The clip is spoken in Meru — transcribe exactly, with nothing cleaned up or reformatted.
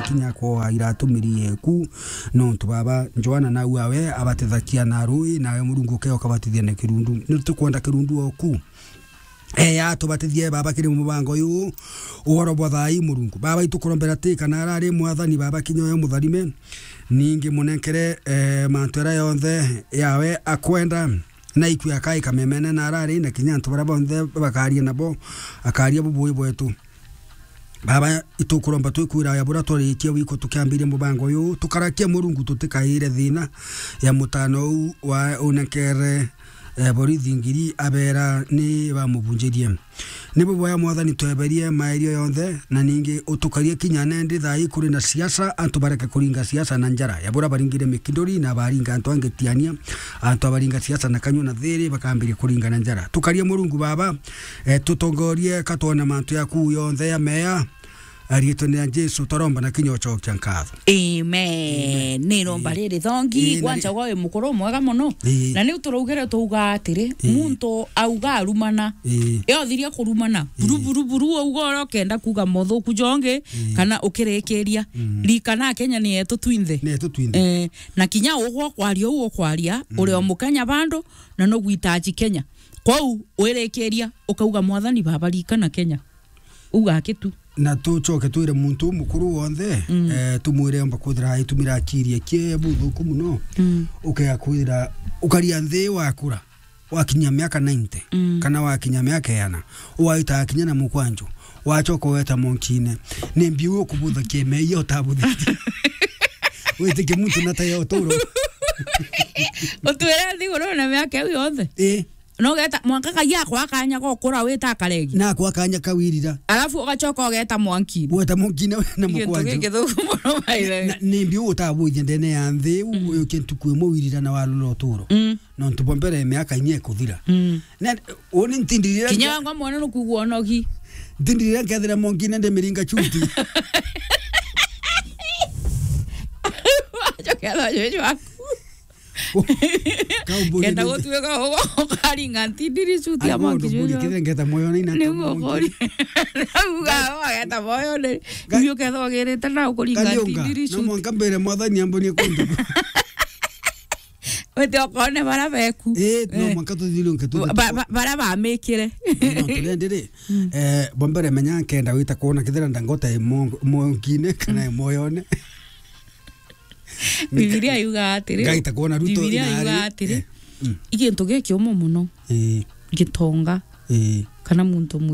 kinya kwa iratumiri yeku. Nontu baba Joana nau awe abatithagia na rui, nawe Murungu uke ukabatithia na kirundu. Ni tukwenda kirundu oku. Eya, tubatithie baba kiri mubango uyu. Uhoro bwa thai Murungu. Baba, itukurombera ti kana arari mwathani baba kinya uyo mutharime. Ningi munenkere, eh, mantu era yonthe yawe akwenda. Na ikue akaika memene na arari na kinya antu bara bonthe bakaria nabo, akaria bubui bwetu. Baba, itukuromba twikwira ya bura twarikia wiko tukiambiria mubango uyu, tukarakia Murungu tutikaire thina ya mutano uu wa unekere, eh, borithi ngiri abera ni bamubunjirie. Ni buboya Mwathani tweberie maerio yonthe, na ningi utukarie kinya nendi thai kuri na siasa, antu bareke kuringa siasa na njara. Ya bura baringire mikindori na baringa antu angetiania, antu abaringa siasa na kanyua na thiri bakambiria kuringa na njara. Tukarie Murungu Baba, eh, tutongorie katwone mantu yaku yonthe ya meya. Ariitwa ni ya Jesu, twaromba na kinya ucokia nkatho. Amen. Amen. Ni romba riri thongi, ii, na kwanza ri- gwa wi mukuru mwega muno. Ii. Na niu turaugire tuuga atiri, ii, muntu auga arumana. Ii. Yothiria kurumana. Ii. Buru, buru, buru, auga uria ukenda kuuga mothuku jongi, ii, kana ukirikiria. Mm. Rikana Kenya ni yetu twinthe. Ni yetu twinthe. Eh, na kinya ugwa kwaria uu ukwaria, mm, uri o Mukenya bado, na nugwitaji Kenya. Kwou wirikiria, ukauga, "Mwathani Baba, rikana Kenya." Uga aki tu. Na tucoke twire muntu umukuru wonthe, mm, eh, tumwire omba kwithira aitumira akiri ekie buthuku muno. Mm. Ukea kwithira, ukaria nthi wakura, wakinya miaka ninety, mm, kana wakinya miaka iana, waita akinya na mukwanju, wacoka weta monkine. Ni mbiu ukubutha kieme iyo utabuthitie. Witikie muntu na tayo uturo. Utwire nthiguru na miaka iu yonthe? Ii. Na ugeta mwanka Ngai akwa kanya gokura wita akaregi. Na akwa kanya kawirira. Alafu ugacoka ugeta mwanki. Weta mwanki na, na mukwanju. Gintu gikithuku muno, by the way. Na, ni mbi utabuithia ndene ya nthi, mm, uyu kintu kwi muwirira na walula uturo. Mm. Nontu bwa mbere miaka inya ikuthira. Mm. Na, uni ntindirire. Kinya wangwa mwana nukugua onogi. Ntindirire nkethira mwanki na ndimiringa chuti. Wacoka thwa juju waku. Kenda gutuika ukaringa ntindiri suti ya mwanki juju. Kenda moyo ni na. Ni mokori. Uga wageta moyo ni. Ngai. Ndio ketho gerete na ukuringa ntindiri suti. No mwanka mbere mwathani ambonie kundu. Wete okone bara beku. Eh, no mwanka tuthilunke tu. Ba-, ba-, bara bamikire. No, tulendere. Mm. Eh, bombere menya nkenda wita kuona kithira ndangota e mo-, monkine kana e moyone. Bibilia yuga atiri, Ngai ta kuona Ruto Bibilia na yuga ari-, atiri, eh, mm, i gintu gikiumu muno, eh, gitonga, eh, kana muntu mwi-